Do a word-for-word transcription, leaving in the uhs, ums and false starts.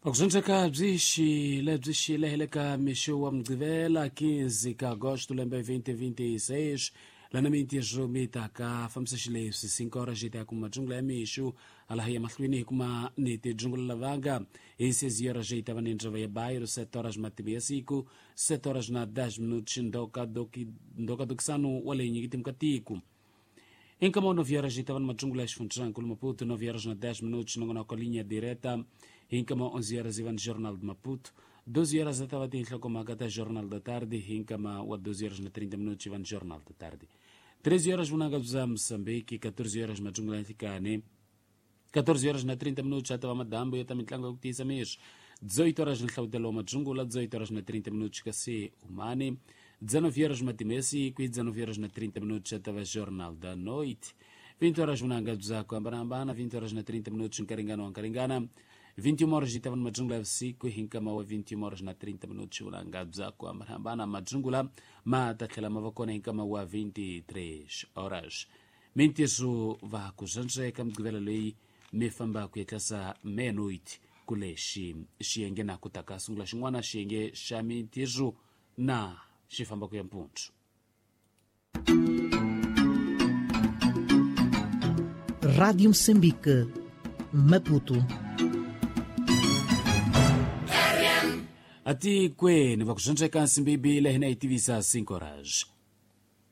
Vakuzendzeka byi xile byi xile hi le ka mixo wa Mugqivela quinze ka agosto lembe twenty twenty-six, lana mintirho mi ta ka fambisa xileswi: cinco horas yi ta ya kuma dzungula ya mixo, hala hi ya mahlweni hi kuma ni tidzungula lavanga hi seis horas yi ta va ni ndzova ya bairo, sete horas matimu ya siku, sete horas na dez minutos ndoka doki ndoka dokisano wa le nyikitimu ka tiko. Em Camão, nove horas e estava numa jungla Funchal, Maputo, nove horas na dez minutos, nongonoko Linha Direta. Em Camão, onze horas, Ivan Jornal de Maputo. doze horas estava em Tlocomagata, Jornal da Tarde. Em Camão, doze horas na trinta minutos, Ivan Jornal da Tarde. treze horas, Munanga za Moçambique, catorze horas, Majungla Ntikane. catorze horas na trinta minutos, já estava Madambo, eu também tlango kutisa mês. dezoito horas na Hlautelo Majungula, dezoito horas na trinta minutos, Kassé Umane. dezenove horas Matimesi, e dezenove horas na trinta minutos já estava Jornal da Noite. vinte horas Munanga za Kuambarambana, vinte horas na trinta minutos Nkaringana Nkaringana. vinte e uma horas estava no Majungula F C, Hinkamawa, vinte e uma horas na trinta minutos Munanga za Kuambarambana Majungula, Mata tlhela mavakona Hinkamawa vinte e três horas. Mintirho va kuzandzeka Mugqivela leyi mi famba ku yetlasa meia-noite kulexi xiyenge na ku ta ka sungula xin'wana xiyenge xa mintirho na xi famba ku ya mpundzu. Rádio Moçambique, Maputo. Atikweni va ku zwandzeka nsimbibi leyi na yi tivisa cinco horas.